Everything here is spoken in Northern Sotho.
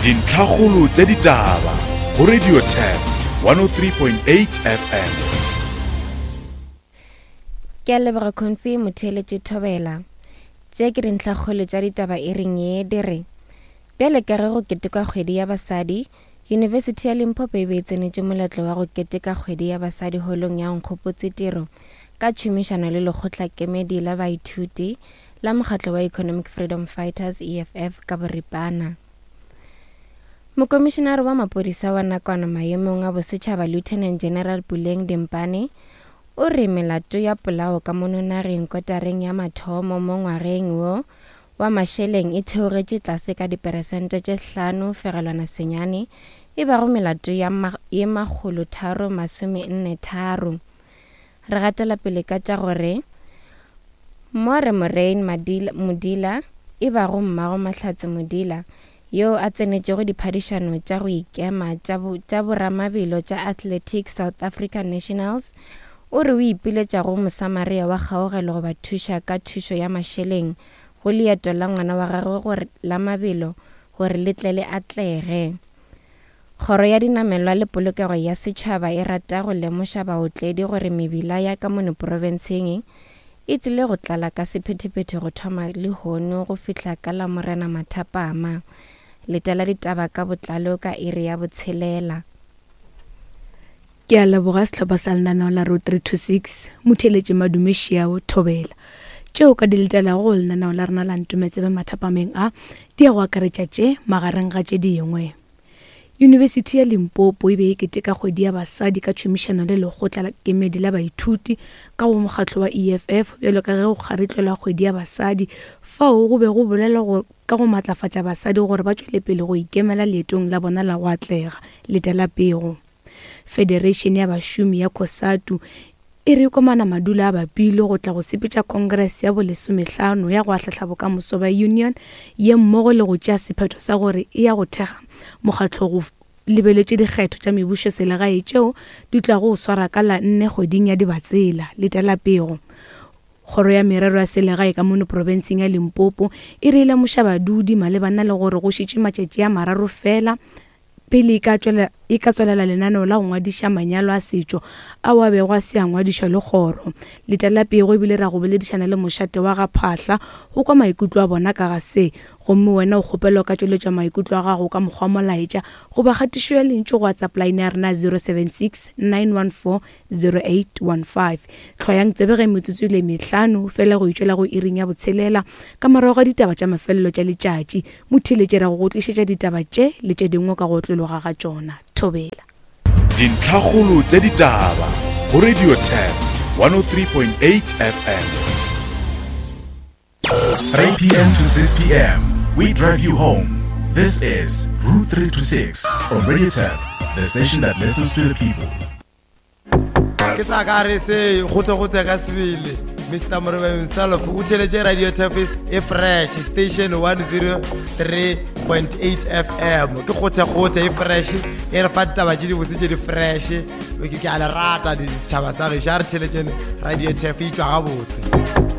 Dintlhakgolo tša ditaba go Radio Turf 103.8 FM. Ke a leboga Comfy motheeletše Thobela. Tše ke dintlhakgolo tša ditaba e reng ye di re Bjale ka ge go ketekwa kgwedi ya basadi, Yunibesithi ya Limpopo e be e tsenetše moletlo wa go keteka kgwedi ya basadi holong ya Nkgopotse Tiro ka tšhomišano le lekgotlakemedi la baithuti la mokgatlo wa Economic Freedom Fighters, EFF, ka boripana. Mokomišenare wa maphodisa wa nakwana maemong a bosetšhaba Lieutenant General Puleng Dimpane o re melato ya polao ka mono nageng kotareng ya mathomo mo ngwageng wo wa mašeleng e theogetše tlase ka diperesente tše 5.9, e bago melato ya ye 343. Re gatela pele ka tša gore More Moraine Modila, e bago mmago Mahlatse Modila, yo a tsenetšego diphadišano tša go ikema tša boramabelo tša Athletics South Africa Nationals, o re o ipiletša go Mosamaria wa kgaogelo go ba thuša ka thušo ya mašeleng go leeto la ngwana wa gagwe gore la mabelo gore le tle le atlege. Kgoro ya Dinamelwa le Polokego ya Setšhaba e rata go lemoša baotledi gore mebila ya ka mono profenseng e tlile go tlala ka sephethephethe go thoma lehono go fihla ka Lamorena mathapama. Letela ditaba ka botlalo ka iri ya botshelela. Ke a leboga sehlopha sa lenaneo la Road 326, Motheeletši Madume Šiao, Thobela. Tšeo ka di letelago go lenaneo la rena la Ntometsebe mathapameng a, di ya go akaretša tše, magareng ga tše dingwe. Yunibesithi ya Limpopo e be e keteka kgwedi ya basadi ka tšhomišano le lekgotla la kemedi la baithuti ka go mokgatlo wa EFF bjalo ka ge go kgaritlelwa kgwedi ya basadi fao go be go bolelwa go ka go matlafatša basadi gore ba tšwele pele go ikemela leetong la bona la go atlega. Letela pego. Federation ya bašomi ya Cosatu e re komana madulo a bapile go tla go sepetša Congress ya bolesomehlano ya go ahlahla bokamoso bja union ye mmogo le go tšea sephetho sa gore e ya go thekga mokgatlo go lebeletše dikgetho tša mebušoselegae tšeo di tlago go swara ka la nne kgweding ya Dibatsela. Letela pego. Kgoro ya Merero ya Selegae ka mono profenseng ya Limpopo e re e lemoša badudi malebana le gore go šetše matšatši a mararo fela Pele e ka tšwela, e ka tswelela lenaneo la go ngwadiša manyalo a setšo ao a bego a se a ngwadišwa le kgoro. Letela pego ebile ra go boledišana le mošate wa ga Phahla go kwa maikutlo a bona ka ga se. Gomme wena o kgopelwa o ka tšweletša maikutlo a gago ka mokgwa wa molaetša goba kgatišo ya lentšu go WhatsApp line ya rena ya 076 914 0815. Hlwayang tsebe ge metsotso e le mehlano fela go itšwela go iring ya botshelela ka morago ga ditaba tša mafelelo tša letšatši. Motheeletši ra go go tlišetša ditaba tše le tše dingwe ka go otlologa ga tšona. Thobela. Dintlhakgolo tša ditaba go Radio 10 103.8 FM. 3 p.m. to 6 p.m. We drive you home. This is Route 326 on Radio 10, the station that listens to the people. ke sa ka re se gote-gote ka sebele mr morebe himself o theletše radio tafis e fresh station 103.8 fm ke gote-gote e fresh e re fa ditaba tše dibotse tše di fresh ke a le rata setšhaba sa gešo a re theletšene radio taf e tšwa gabotse.